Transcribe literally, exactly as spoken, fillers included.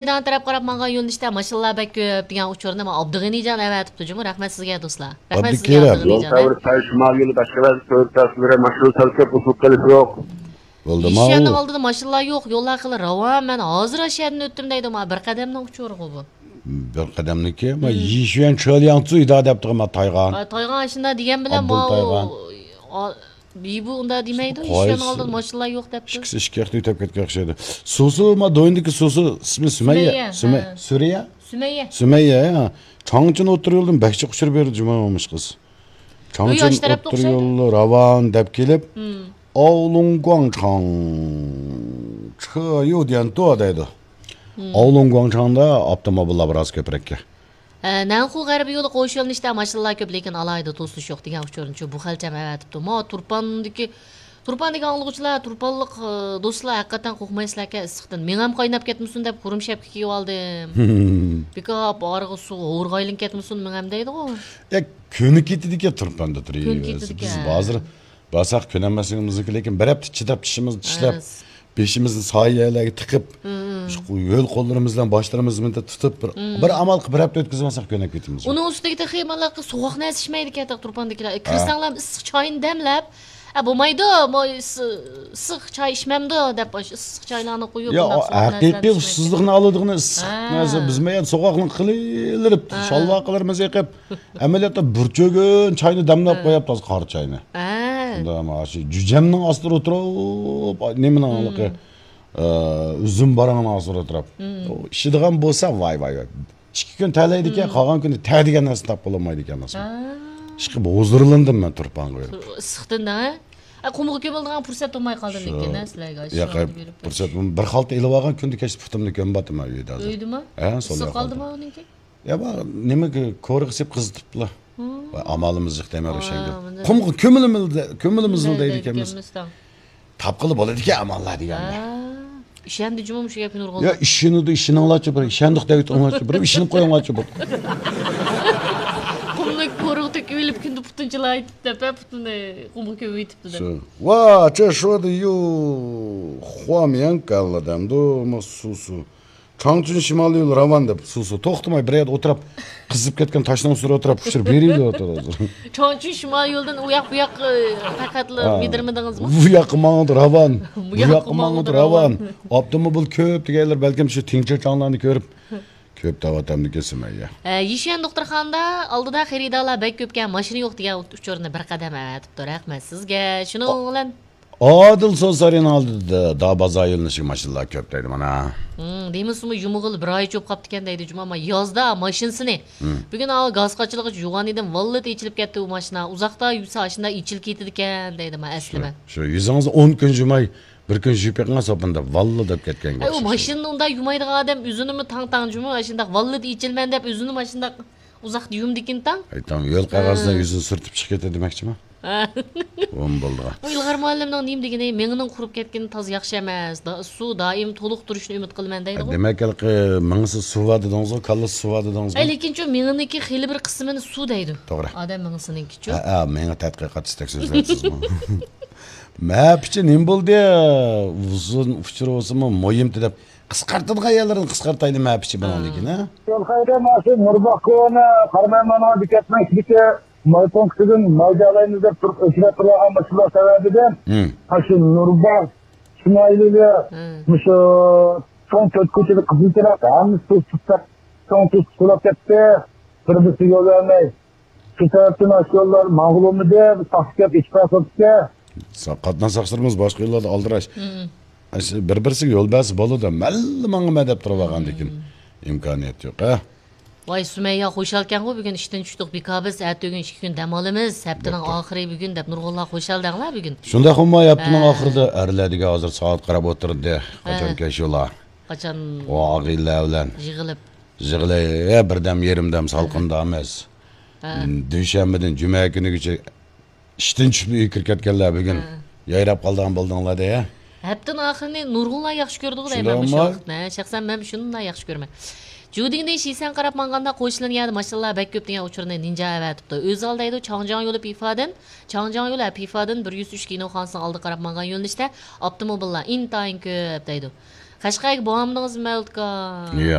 مەيدان تەرەپ قاراپ ماڭغان يۆنىلىشتە ماشىنىلار بەك كۆپ دېگەن ئۇچۇرنى مانا ئابدۇغېنىجان ئەۋەتىپتۇ جۇمۇ. رەھمەت سىزگە دوستلار. رەھمەت سىزگە، ئابدۇكېرىم. ئابدۇغېنىجان. يول سەۋر سەل شىمال يولى باشقا بەزى تۆر تەسىرلىرى ماشىنا سەل كۆپ ئۇسۇل قىلىش يوق. بولدىمۇ؟ يىشيەننىڭ ئالدىدا ماشىنىلار يوق، يوللار خېلى راۋان، مەن ھازىر ئاشۇ يەردىن ئۆتتۈم دەيدۇ، مانا بىر قەدەمنىڭ ئۇچۇرىغۇ بۇ. بىر قەدەمنىكى، ما، يىشيەن چېلياڭ لا دەپتىغۇ، ما، تايغان. ئا، تايغان ئاشۇنداق دېگەن بىلەن ئابدۇل ماۋۇ، تايغان. ئا، بىبۇ ئۇنداق دېمەيدۇ، قايسى؟ يىشيەننىڭ ئالدىدا ماشىنىلار يوق دەپتۇ. ئىككىسى ئىككى ياقتا ئۆتۈپ كەتكەن ئوخشايدۇ. سۇسۇ، ما، دويىنىدىكى سۇسۇ، ئىسمى سۈمەييە. سۈمەييە، سۈمەي-، ھە. سۈرىيە؟ سۈمەييە. سۈمەييە، ھە. چاڭچىن ئوتتۇرا يولدىن بەك جىق ئۇچۇر بېرىدۇ جۇمۇ مۇشۇ قىز. ئۆي چاڭچىن ئاشۇ تەرەپتە ئوتتۇرا ئوخشايدۇ. يولى راۋان دەپ كېلىپ، ئاۋلۇڭ گۇاڭچاڭ چېيۇ ديەنتۇ دەيدۇ. ئاۋلۇڭ گۇاڭچاڭدا ئاپتوموبىللار بىراز كۆپرەككەن. ھە، نەنخۇ غەربىي يولى قوش يۆنىلىشتە ماشىنىلار كۆپ، لېكىن ئالاھىدە توسۇلۇش يوق دېگەن ئۇچۇرنىچۇ بۇ خەلچەم ئەۋەتىپتۇ. ما تۇرپاندىكى، تۇرپاندىكى ئاڭلىغۇچىلار، تۇرپانلىق، ئى، دوستلار ھەقىقەتەن قورقمايسىلەركەن ئىسسىقتىن. مېڭەم قايناپ كەتمىسۇن دەپ قۇرۇم شەپكە كىيىۋالدىم. بىكاپ ئارىغا سۇ ھورغا ئايلىنىپ كەتمىسۇن مېڭەم دەيدىغۇ. يا، كۆنۈپ كېتىدىكەن تۇرپاندا تۇرۇپ. كۆنۈپ كېتىدىكەن. بىز ھازىر بارساق كۆنەلمەسلىكىمىزنى لېكىن بىر ھەپتە چىداپ چىشىمىزنى چىشلەپ، بېشىمىزنى سايە يەرلەرگە تىقىپ، شۇ ھۆل قوللىرىمىز بىلەن باشلىرىمىزنى مۇنداق تۇتۇپ، بىر، بىر ئامال قىلىپ بىر ھەپتە ئۆتكۈزۈۋالساق كۆنۈپ كېتىمىز. ئۇنىڭ ئۈستىگە تېخى مانا سوغۇق نەرسە ئىچمەيدىكەن تۇرپاندىكىلەر. كىرسەڭلار ئىسسىق چاينى دەملەپ، ئە، بولمايدۇ، مو-، ئىس-، ئىسسىق چاي ئىچمەمدۇ دەپ، ئىسسىق چايلارنى قويۇپ، يا، بۇنداق سوغۇق ھەقىقىي نەرسىلەرنى ئىچمەيدىكەن. ئۇسسۇزلۇقنى ئالىدىغىنى ئىسسىق نەرسە. بىزمۇ يەنە سوغۇقنى قىلىۋېلىپ، شالۋاقلىرىمىزنى يېقىپ، ئەمەلىيەتتە بىر چۆگۈن چاينى دەملەپ قويۇپتۇ، قارا چاينى. ھە. شۇنداق، مانا شۇ جۈجەمنىڭ ئاستىدا ئولتۇرۇپ، نېمىنىڭ ھېلىقى، ئە، ئۈزۈم بارىڭىنىڭ ئاستىدا ئولتۇرۇپ. ئۇ ئىچىدىغان بولسا، ۋاي، ۋاي، ۋاي. ئىككى كۈن تەلەيدىكەن، قالغان كۈنى تە دېگەن نەرسىنى تاپقىلى بولمايدىكەن، ئاسان. ھە. ئىشقىلىپ ھۇزۇرلىندىم مەن تۇرپانغا بېرىپ. ئىسسىقتىن، ھە؟ ئە، قۇمغا كۆمۈلىدىغان پۇرسەت بولماي قالدى لېكىن، ھە، سىلەرگە شۇ ياقى پۇرسەت، بىر خالتا ئېلىۋالغان كۈندە كەچتە پۇتۇمنى كۆمۈۋاتىمەن ئۆيدە ھازىر. ئۆيدىمۇ؟ ھە، سول ئىسسىق قالدىمۇ ئۇنىڭكى؟ يا، بار، نېمە، كورىغا سېلىپ قىزىتىپلا. ۋاي، ئامالىمىز يوق دەيمەن روشەنگۈل. قۇمغا كۆمۈلىمىز، كۆمۈلىمىز دەيدىكەنمىز. تاپقىلى بولىدىكەن ئاماللار دېگەننى. ھە. ئىشەندى جۇمۇ مۇشۇ گەپكە نۇرغۇنلار. يا، ئىشىنىدۇ، ئىشىنىڭلارچۇ بىر، ئىشەندۇق دەۋېتىڭلارچۇ بىر، ئىشىنىپ قويۇڭلارچۇ بىر. قۇمنى كورىغا تۆكۈۋېلىپ كۈندە پۇتىنى چىلايتىپ دەپ، ھە، پۇتىنى قۇمغا كۆمۈۋېتىپتۇ دەپ. ۋا، چە شۇ دە يۇ، خۇام يەن كاللا دەمدۇ، ما سۇ سۇ. چاڭچۈن شىمالىي يول راۋان دەپ، سۇ سۇ توختىماي بىر يەردە ئولتۇرۇپ، قىزىپ كەتكەن تاشنىڭ ئۈستىدە ئولتۇرۇپ، ئۇچۇر بېرىۋېرىۋاتىدۇ ھازىر. چاڭچۈن شىمالىي يولدىن ئۇ ياق بۇ ياق، ئە، پەقەتلا مىدىرمىدىڭىزمۇ؟ ئۇ ياققا ماڭىدۇ راۋان، بۇ ياققا ماڭىدۇ راۋان. ئاپتوموبىل كۆپ دېگەنلەر بەلكىم شۇ تىڭچە چاڭلارنى كۆرۈپ، كۆپ دەۋاتامدىكەن سۈمەييە. ئە، يىشيەن دوختۇرخانىدا ئالدىدا خېرىدارلار بەك كۆپكەن، ماشىنا يوق دېگەن ئۇچۇرنى بىر قەدەم ئەۋەتىپتۇ. رەھمەت سىزگە. شۇنىڭ بىلەن ئادىل سوسارىنىڭ ئالدىدا داۋازا يۆنىلىشىگە ماشىنىلار كۆپ دەيدۇ مانا. ھىم، دېمىسىمۇ يۇمىغىلى بىر ئاي چوپ قاپتىكەن دەيدۇ جۇما، ما يازدا ماشىنىسىنى. ھىم. بۈگۈن ئاۋۇ گاز قاچىلىغۇچ يۇغان ئىدىم، ۋاللىدە ئېچىلىپ كەتتى ئۇ ماشىنا. ئۇزاقتا يۈرسە ئاشۇنداق ئېچىلىپ كېتىدىكەن دەيدۇ ما ئەسلىمە. شۇ، شۇ يۈزىڭىزنى ئون كۈن يۇماي، بىر كۈن يۇيۇپ بېقىڭ سوپۇندا، ۋاللا دەپ كەتكەنگە ئەي، ئۇ ئوخشاش. ماشىنىنى ئۇنداق يۇمايدىغان ئادەم ئۆزىنىمۇ تاڭ-تاڭ جۇمۇ، ئاشۇنداق ۋاللىدە ئېچىلىمەن دەپ ئۆزىنىمۇ ئاشۇنداق ئۇزاقتا يۇمدىكىن تاڭ. ئېيتام، يول قەغەزىدە يۈزىنى سۈرتۈپ چىقىپ كېتە دېمەكچىما؟ ھە. بۇمۇ بولىدىغان. بۇ ئىلغار مۇئەللىمنىڭ نېمە دېگىنى، مېڭىنىڭ قۇرۇپ كەتكىنى تازا ياخشى ئەمەس. دا-، سۇ دائىم تولۇق تۇرۇشىنى ئۈمىد قىلىمەن دەيدىغۇ. دېمەك، ھېلىقى مېڭىسى سۇ بار دېدىڭىزغۇ، كاللىسى سۇ بار دېدىڭىزغۇ. ئەي، لېكىنچۇ مېڭىنىڭكى خېلى بىر قىسمىنى سۇ دەيدۇ. توغرا. ئادەم مېڭىسىنىڭكىچۇ. ھە، ھە، مېڭە تەتقىقاتچىسىدەك سۆزلەپسىزغۇ. مەپىچى نېمە بولدى؟ ئۇزۇن ئۇچۇر بولسىمۇ مۇھىمتى دەپ قىسقارتىدىغان يەرلىرىنى قىسقارتايلى مەپىچى بۇنىڭدىكىنى. يول خەيرى ماشۇ نۇرباغ كونا قاراماي مانا بېكەتنىڭ ئىچىدىكى ماي پونكىتىدىن ماي جالايمىز دەپ تۇرۇپ ئۆچرەپ تۇرغان ماشىنىلار سەۋەبىدىن ماشۇ نۇرباغ شىمالىيلىرى مۇشۇ چوڭ تۆت كوچىدا قىزىل چىراغ ھەممىسى توسۇپ، چوڭ توسۇپ سۇلاپ كەتتى. بىر بىرسىگە يول بەرمەي. شۇ سەۋەبتىن ئاشۇ يوللار ماڭغىلى بولمىدى. بىز تاختا كەپ ئىچ پاسوپكە. سا-، قاتناش ساقچىلىرىمىز باشقا يوللاردا ئالدىراش. ئاشۇ بىر-بىرسىگە يول بەرسە بولىدۇ. مەنلا ماڭىمەن دەپ تۇرۇۋالغاندىكىن ئىمكانىيەت يوق، ھە؟ ۋاي، سۈمەييە خۇشالكەنغۇ بۈگۈن ئىشتىن چۈشتۇق، بىكار بىز، ئەتە ئۆگۈن ئىككى كۈن دەم ئالىمىز، ھەپتىنىڭ ئاخىرى بۈگۈن دەپ نۇرغۇنلار خۇشال دەڭلار بۈگۈن. شۇنداق ئۇماي ھەپتىنىڭ ئاخىرىدا ئەرلەر دېگەن ھازىر سائەت قاراپ ئولتۇردى. قاچان كەلشى ئۇلار؟ قاچان؟ ئۇ ئاغىنىلەر بىلەن. يىغىلىپ. يىغىلىپ، بىردەم، يېرىم دەم سالقىندامىز. ھە. دۈشەنبىدىن جۈمە كۈنىگىچە ئىشتىن چۈشۈپ ئۆيگە كىرىپ كەتكەنلەر بۈگۈن. ھە. يايراپ قالىدىغان بولدۇڭلار دە. ھەپتىنىڭ ئاخىرىنى نۇرغۇنلار ياخشى كۆرىدىغۇ دەيمەن مۇشۇ ۋاقىتنى. ھە، شەخسەن مەن شۇنداق ياخشى كۆرىمەن. جۇدىڭدىن شىسەن قاراپ ماڭغاندا قوشلىنىڭ يەردە ماشىنىلار بەك كۆپ دېگەن ئۇچۇرنى نىنجا ئەۋەتىپتۇ. ئۆزال دەيدۇ، چاڭجياڭ يولى پىفادىن، چاڭجياڭ يولى، ھە، پىفادىن بىر يۈز ئۈچ كىنوخانىسىنىڭ ئالدىغا قاراپ ماڭغان يۆنىلىشتە ئاپتوموبىللار ئىنتايىن كۆپ دەيدۇ. قەشقەرگە بارمىدىڭىزمۇ مەۋلۇت ئاكا؟